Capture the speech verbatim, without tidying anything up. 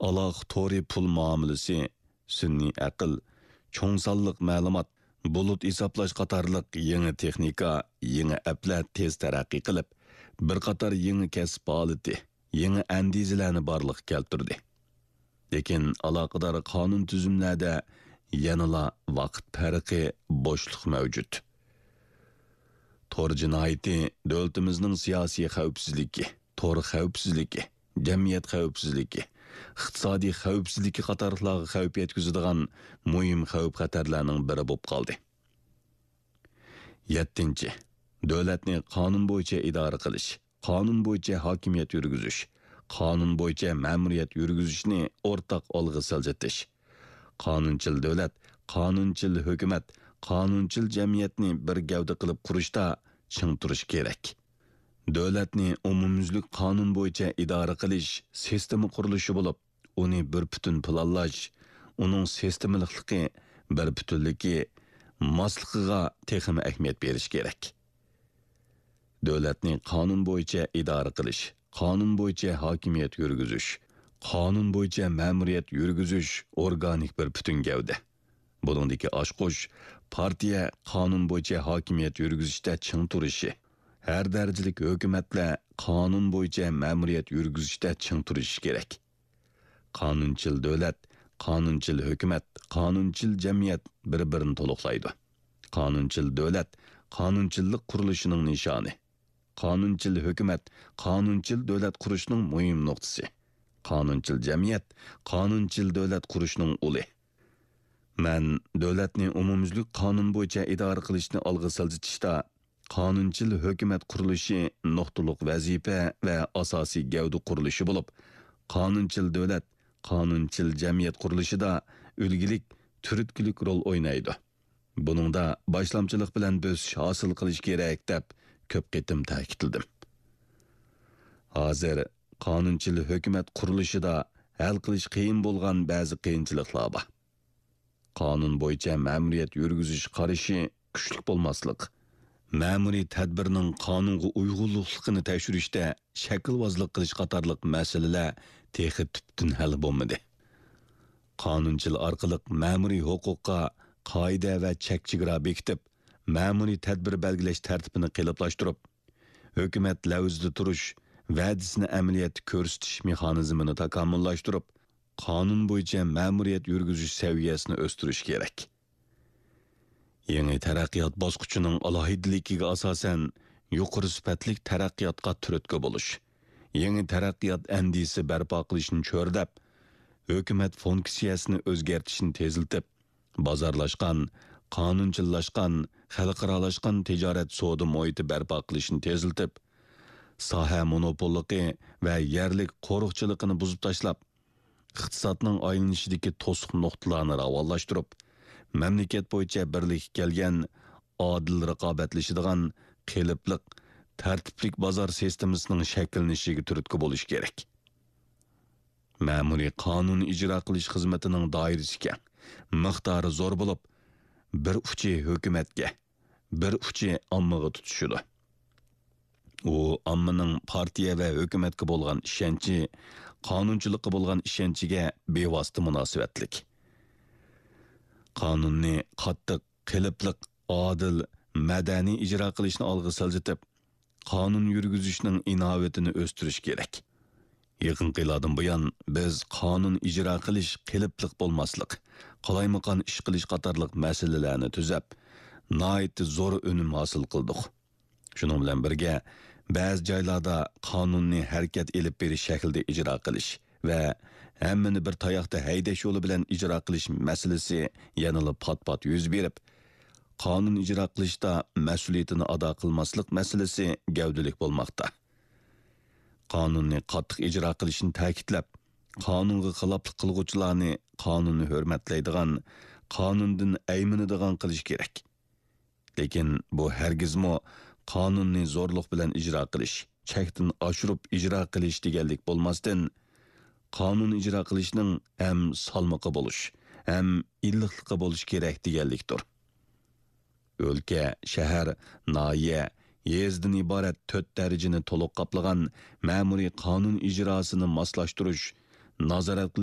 ئالاقە تورى پۇل مۇئامىلىسى، سۈنئىي ئەقىل، چوڭ سانلىق مەلۇمات، بۇلۇت ھېسابلاش قاتارلىق يېڭى تېخنىكا، يېڭى ئەپلەر تېز تەرەققىي قىلىپ، بىر قاتار يېڭى كەسىپ ھالىتى، يېڭى ئەندىزىلەرنى بارلىققا كەلتۈردى. لېكىن ئالاقىدار قانۇن تۈزۈملەردە يەنىلا ۋاقىت پەرقى، بوشلۇق مەۋجۇت. تور جىنايىتى دۆلىتىمىزنىڭ سىياسىي خەۋپسىزلىكى، تور خەۋپسىزلىكى، جەمئىيەت خەۋپسىزلىكى، ئىقتىسادىي خەۋپسىزلىكى قاتارلىقلارغا خەۋپ يەتكۈزىدىغان مۇھىم خەۋپ-خەتەرلەرنىڭ بىرى بولۇپ قالدى. يەتتىنچى، دۆلەتنى قانۇن بويىچە ئىدارە قىلىش، قانۇن بويىچە ھاكىمىيەت يۈرگۈزۈش، قانۇن بويىچە مەمۇرىيەت يۈرگۈزۈشنى ئورتاق ئالغا سىلجىتىش. قانۇنچىل دۆلەت، قانۇنچىل ھۆكۈمەت، قانۇنچىل جەمئىيەتنى بىر گەۋدە قىلىپ قۇرۇشتا چىڭ تۇرۇش كېرەك. دۆلەتنى ئومۇميۈزلۈك قانۇن بويىچە ئىدارە قىلىش سىستېما قۇرۇلۇشى بولۇپ، ئۇنى بىر پۈتۈن پىلانلاش، ئۇنىڭ سىستېمىلىقلىقى، بىر پۈتۈنلۈكى، ماسلىقىغا تېخىمۇ ئەھمىيەت بېرىش كېرەك. دۆلەتنى قانۇن بويىچە ئىدارە قىلىش، قانۇن بويىچە ھاكىمىيەت يۈرگۈزۈش، قانۇن بويىچە مەمۇرىيەت يۈرگۈزۈش ئورگانىك بىر پۈتۈن گەۋدە. بۇنىڭدىكى ئاچقۇچ پارتىيە قانۇن بويىچە ھاكىمىيەت يۈرگۈزۈشتە چىڭ تۇرۇشى، ھەر دەرىجىلىك ھۆكۈمەتلەر قانۇن بويىچە مەمۇرىيەت يۈرگۈزۈشتە چىڭ تۇرۇشى كېرەك. قانۇنچىل دۆلەت، قانۇنچىل ھۆكۈمەت، قانۇنچىل جەمئىيەت بىر-بىرىنى تولۇقلايدۇ. قانۇنچىل دۆلەت قانۇنچىللىق قۇرۇلۇشىنىڭ نىشانى. قانۇنچىل ھۆكۈمەت قانۇنچىل دۆلەت قۇرۇشنىڭ مۇھىم نۇقتىسى. قانۇنچىل جەمئىيەت قانۇنچىل دۆلەت قۇرۇشنىڭ ئۇلى. مەن دۆلەتنى ئومۇميۈزلۈك قانۇن بويىچە ئىدارە قىلىشنى ئالغا سىلجىتىشتا، قانۇنچىل ھۆكۈمەت قۇرۇلۇشى نۇقتىلىق ۋەزىپە ۋە ئاساسىي گەۋدە قۇرۇلۇشى بولۇپ، قانۇنچىل دۆلەت قانۇنچىل جەمئىيەت قۇرۇلۇشىدا ئۈلگىلىك، تۈرتكىلىك رول ئوينايدۇ. بۇنىڭدا باشلامچىلىق بىلەن بۆسۈش ھاسىل قىلىش كېرەك، دەپ كۆپ قېتىم تەكىتلىدىم. ھازىر قانۇنچىل ھۆكۈمەت قۇرۇلۇشىدا ھەل قىلىش قىيىن بولغان بەزى قىيىنچىلىقلار بار. قانۇن بويىچە مەمۇرىيەت يۈرگۈزۈش قارىشى كۈچلۈك بولماسلىق، مەمۇرىي تەدبىرنىڭ قانۇنغا ئۇيغۇنلۇقلۇقىنى تەكشۈرۈشتە شەكىلۋازلىق قىلىش قاتارلىق مەسىلىلەر تېخى تۈپتىن ھەل بولمىدى. قانۇنچىل ئارقىلىق مەمۇرىي ھوقۇققا قائىدە ۋە چەك-چېگرا بېكىتىپ، مەمۇرىي تەدبىر بەلگىلەش تەرتىپىنى قېلىپلاشتۇرۇپ، ھۆكۈمەت لەۋزىدە تۇرۇش، ۋەدىسىنى ئەمەلىيەتتە كۆرسىتىش مېخانىزمىنى تاكامۇللاشتۇرۇپ، قانۇن بويىچە مەمۇرىيەت يۈرگۈزۈش سەۋىيەسىنى ئۆستۈرۈش كېرەك. يېڭى تەرەققىيات باسقۇچىنىڭ ئالاھىدىلىكىگە ئاساسەن، يۇقىرى سۈپەتلىك تەرەققىياتقا تۈرتكە بولۇش، يېڭى تەرەققىيات ئەندىزىسى بەرپا قىلىشنى چۆرىدەپ، ھۆكۈمەت فۇنكسىيەسىنى ئۆزگەرتىشنى تېزلىتىپ، بازارلاشقان، قانۇنچىللاشقان، خەلقئارالاشقان تىجارەت سودا مۇھىتى بەرپا قىلىشنى تېزلىتىپ، ساھە مونوپوللۇقى ۋە يەرلىك قورۇقچىلىقىنى بۇزۇپ تاشلاپ، ئىقتىسادنىڭ ئايلىنىشىدىكى توسۇق نۇقتىلارنى راۋانلاشتۇرۇپ، مەملىكەت بويىچە بىرلىككە كەلگەن، ئادىل رىقابەتلىشىدىغان، قېلىپلىق، تەرتىپلىك بازار سىستېمىسىنىڭ شەكىللىنىشىگە تۈرتكە بولۇش كېرەك. مەمۇرىي قانۇن ئىجرا قىلىش خىزمىتىنىڭ دائىرىسى كەڭ، مىقدارى زور بولۇپ، بىر ئۇچى ھۆكۈمەتكە، بىر ئۇچى ئاممىغا تۇتىشىدۇ. ئۇ ئاممىنىڭ پارتىيە ۋە ھۆكۈمەتكە بولغان ئىشەنچى، قانۇنچىلىققا بولغان ئىشەنچىگە بىۋاسىتە مۇناسىۋەتلىك. قانۇننى قاتتىق، قېلىپلىق، ئادىل، مەدەنىي ئىجرا قىلىشنى ئالغا سىلجىتىپ، قانۇن يۈرگۈزۈشنىڭ ئىناۋىتىنى ئۆستۈرۈش كېرەك. يېقىنقى يىللاردىن بۇيان، بىز قانۇن ئىجرا قىلىش، قېلىپلىق بولماسلىق، قالايمىقان ئىش قىلىش قاتارلىق مەسىلىلەرنى تۈزەپ، ناھايىتى زور ئۈنۈم ھاسىل قىلدۇق. شۇنىڭ بىلەن بىرگە، بەزى جايلاردا قانۇننى ھەرىكەت ئېلىپ بېرىش شەكلىدە ئىجرا قىلىش ۋە ھەممىنى بىر تاياقتا ھەيدەش يولى بىلەن ئىجرا قىلىش مەسىلىسى يەنىلا پات-پات يۈز بېرىپ، قانۇن ئىجرا قىلىشتا مەسئۇلىيىتىنى ئادا قىلماسلىق مەسىلىسى گەۋدىلىك بولماقتا. قانۇننى قاتتىق ئىجرا قىلىشنى تەكىتلەپ، قانۇنغا خىلاپلىق قىلغۇچىلارنى قانۇننى ھۆرمەتلەيدىغان، قانۇندىن ئەيمىنىدىغان قىلىش كېرەك. لېكىن بۇ ھەرگىزمۇ قانۇننى زورلۇق بىلەن ئىجرا قىلىش، چەكتىن ئاشۇرۇپ ئىجرا قىلىش دېگەنلىك بولماستىن، قانۇن ئىجرا قىلىشنىڭ ھەم سالمىقى بولۇش، ھەم ئىللىقلىقى بولۇش كېرەك دېگەنلىكتۇر. ئۆلكە، شەھەر، ناھىيە، يېزىدىن ئىبارەت تۆت دەرىجىنى تولۇق قاپلىغان مەمۇرىي قانۇن ئىجراسىنى ماسلاشتۇرۇش، نازارەت قىلىش